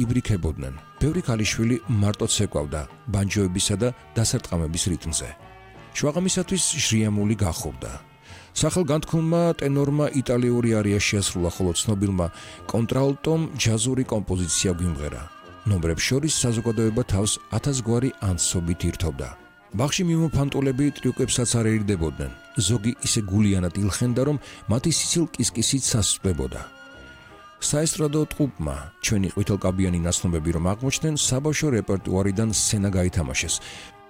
იბრიქებოდნენ. ბევრი ქალიშვილი მარტო ცეკვავდა ბანჯოებისა და დასარტყამების რიტმზე. შვაღამისათვის ჟრიამული გახობდა. სახელგანთქმულმა ტენორმა იტალიური არია შეასრულა, ხოლო ცნობილმა კონტრალტომ ჯაზური კომპოზიცია გვიმღერა. ნომრებს შორის საზოგადოება თავს 1000 გვარი ანსობით ირთობდა. ბაღში მიმოფანტულები ტრიუკებსაც არ ერიდებოდნენ. ზოგი ისე გულიანად ილხენდა, რომ მათი სიცილ-კისკისით სასწვდებოდა. საესტრადო ტყუპმა ჩვენი ყვითელკაბიანი ნაცნობები რომ აღმოჩნდნენ, საბავშვო რეპერტუარიდან სცენა გაითამაშეს.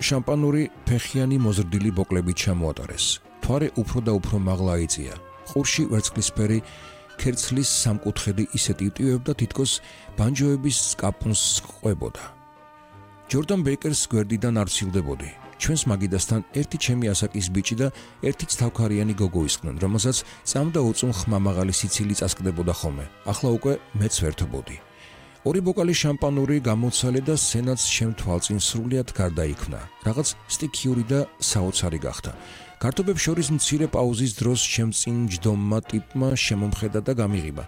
შამპანური ფეხიანი მოზრდილი ბოკლებით ჩამოატარეს. თვარე უფრო და უფრო მაღლა აიწია. ყურში ვერცხლისფერი ქერცლის სამკუთხედი ისე ტივტივებდა, თითქოს ბანჯოების სკაპუნს ყვებოდა. ჯორდან ბეიკერს გვერდიდან არ ვსილდებოდი. ჩვენს მაგიდასთან ერთი ჩემი ასაკის ბიჭი და ერთი ცთავქარიანი გოგო ისხდნენ, რომელსაც წამდა უწუნ ხმამაღალი სიცილი წასკდებოდა ხოლმე. ახლა უკვე მეც ვერთობოდი. ორი ბოკალი შამპანური გამოცალე და სცენაც შემთვალწინ სრულიად გარდაიქმნა. რაღაც სტიქიური და საოცარი გახდა. გართობებს შორის მცირე პაუზის დროს შემწინ ჯდომმა ტიპმა შემომხედა და გამიღიმა.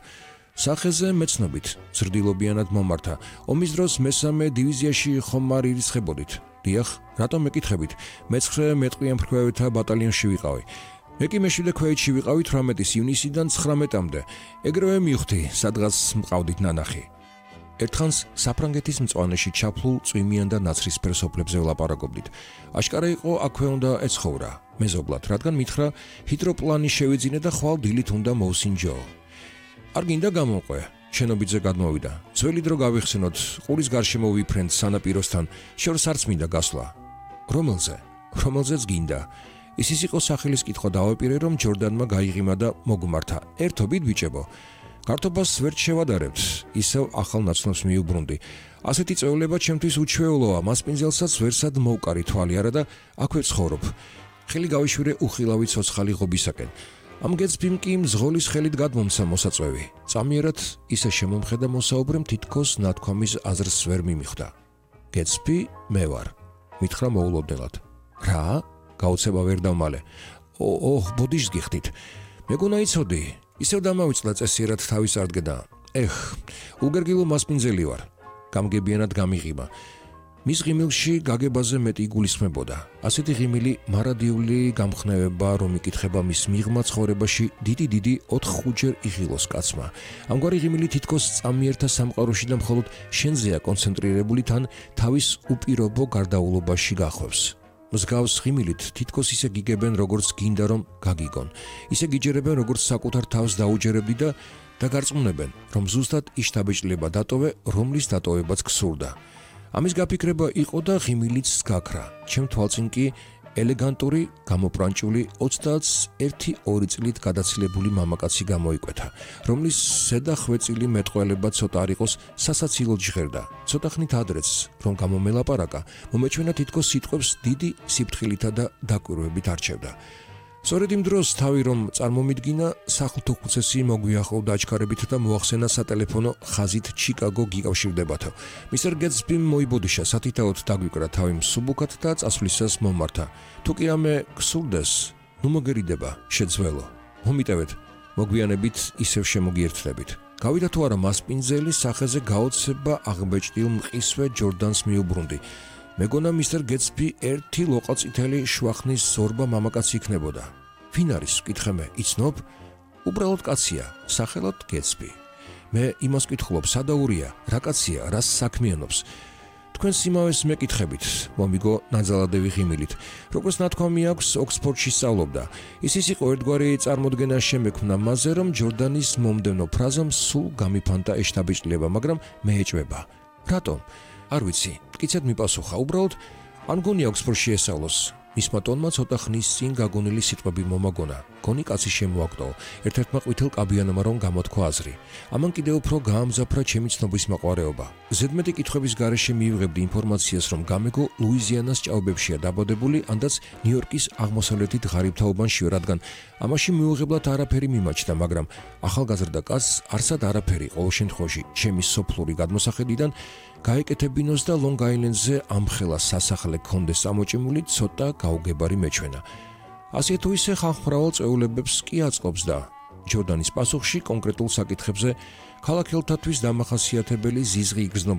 სახეზე მეცნობით, ზრდილობიანად მომართა. ომის დროს მესამე დივიზიაში ხომ არ ირიცხებოდით? დიახ, რატომ მეკითხებით? მე-9 მეტყვიან ფრქვევეთა ბატალიონში ვიყავი. მე კი მე-7 ქვეითში ვიყავი 18 ივნისიდან 19-მდე. ეგრევე მივხვდი, სადღაც მყავდით ნანახი. ერთხანს საფრანგეთის მწვანეში ჩაფლულ წვიმიან და ნაცრისფერ სოფლებზე ვლაპარაკობდით. აშკარა იყო აქვე უნდა ეცხოვრა, მეზობლად, რადგან მითხრა ჰიდროპლანი შევიძინე და ხვალ დილით უნდა მოვსინჯო. არ გინდა გამომყვე, შენობიძე გადმოვიდა. ძველი დრო გავიხსენოთ, ყურის გარშემო ვიფრენთ სანაპიროსთან, შორს არც მინდა გასვლა. რომელზეც გინდა. ისიც იყო სახელის კითხვა დავაპირე, რომ ჯორდანმა გაიღიმა და მოგმართა. ერთობით ბიჭებო. გართობას ვერ შევადარებთ, ისევ ახალ ნაცნობს მიუბრუნდი. ასეთი წეულება ჩემთვის უჩვეულოა, მასპინძელსაც ვერსად მოვკარი თვალი არა და აქვე ცხოვრობ. ხელი გავიშვირე უხილავი ცოცხალი ღობისაკენ. ამ გეცბიმ კი მზღოლის ხელით გადმომცა მოსაწვევი. წამიერად ისე შემომხედა მოსაუბრემ, თითქოს ნათქვამის აზრს ვერ მიმიხვდა. გეცბი მე ვარ, მითხრა მოულოდნელად. რა? გაუცება ვერ დავმალე. ბოდიშს გიხდით. მეგონა იცოდი, ისევ დამავიწყდა წესიერად თავის არტგედა. უგერგილო მასპინძელი ვარ. გამგებიანად გამიღიმა. მის ღიმილში გაგებაზე მეტი იგულისხმებოდა. ასეთი ღიმილი მარადიული გამხნევება, რომ იკითხება მის მიღმა ცხოვრებაში დიდი 4-5ჯერ იღილოს კაცმა. ამგვარი ღიმილი თითქოს წამიერთა სამყაროში და მხოლოდ შენზეა კონცენტრირებული, თან თავის უპირობო გარდაულობაში გახვევს. მსგავს ღიმილით თითქოს ისე გიგებენ, როგორც გინდა რომ გაგიგონ. ისე გიჯერებენ, როგორც საკუთარ თავს დაუჯერებდი და გარწმუნებენ, რომ ზუსტად იშტაბეჭლება დატოვე, რომლის დატოვებაც გსურდა. ამის გაფიქრება იყო და ღიმილიც გაქრა. ჩემ თვალწინ კი ელეგანტური, გამოპრანჭული 21-2 წლით გადაცილებული მამაკაცი გამოიკვეთა, რომლის ზედა ხვეწილი მეტყველება ცოტა არ იყოს სასაცილოდ ჟღერდა. ცოტა ხნით ადრეც, რომ გამომელაპარაკა, მომეჩვენა თითქოს სიტყვებს დიდი სიფრთხილითა და დაკვირვებით არჩევდა. სწორედ იმ დროს თავი რომ წარმომიდგინა, სახლთო ხუცესი მოგვიახლოვდა აჩქარებით და მოახსენა სატელეფონო ხაზით ჩიკაგო გიკავშირდებათო. მისტერ გეტსბიმ მოიბოდიშა, სათითაოდ დაგვიკრა თავი მსუბუქად და წასვლისას მომართა. თუ კი რამე გსურდეს, ნუ მოგერიდება, შეძველო. მომიტევეთ, მოგვიანებით ისევ შემოგიერთდებით. გავიდა თუ არა მასპინძელი, სახეზე გაოცება აღბეჭდილ მყისვე ჯორდანს მიუბრუნდი. მეგონა მისტერ გეტსბი ერთი ლოყაწითელი შვახნის ზორბა მამაკაცი იქნებოდა. ვინ არის? ვკითხე მე, იცნობ? უბრალოდ კაცია, სახელად გეტსბი. მე იმას ვკითხულობ, სადაურია, რა კაცია, რას საქმიანობს. თქვენს იმავეს მეკითხებით, მომიგო ნაძალადევი ღიმილით. როგორც ნათქვამი აქვს, ოქსფორდში სწავლობდა. ის იყო ერთგვარი წარმოდგენა შემექმნა მასზე, რომ ჯორდანის მომდევნო ფრაზამ სულ გამიფანტა ეშტაბეჭდილება, მაგრამ მე ეჭვება. რატომ? არ ვიცი, მტკიცედ მიპასუხა, უბრალოდ ან გონია ოქსფორდში ესწავლოს. მისმა ტონმა ცოტა ხნის წინ გაგონილი სიტყვები მომაგონა. გონი კაცი შემოაგდო, ერთ-ერთმა ყვითელ კაბიანმა რომ გამოთქვა აზრი. ამან კიდევ უფრო გაამძაფრა ჩემი ცნობის მაყვარეობა. ზედმეტი კითხვების გარეშე მიიღებდი ინფორმაციას, რომ გამეგო ლუიზიანას ჭაობებშია დაბადებული, ანდაც ნიუ-იორკის აღმოსავლეთით ღარიბთაობანში, რადგან ამაში მიუღებლად არაფერი მიმაჩნდა, მაგრამ ახალგაზრდა კაცს არსად არაფერი ყოველ შემთხვევაში ჩემი სოფლური გადმოსახედიდან გაეკეთებინოს და ლონგ-აილენდზე ამხელა სასახლე ქონდეს ამოჭიმული ცოტა გაუგებარი მეჩვენა. ასე თუ ისე ხალხმრავალ წეულებებს კი აწყობს და ჯორდანის პასუხში კონკრეტულ საკითხებზე ქალაქელთათვის დამახასიათებელი ზიზღი იგრძნობა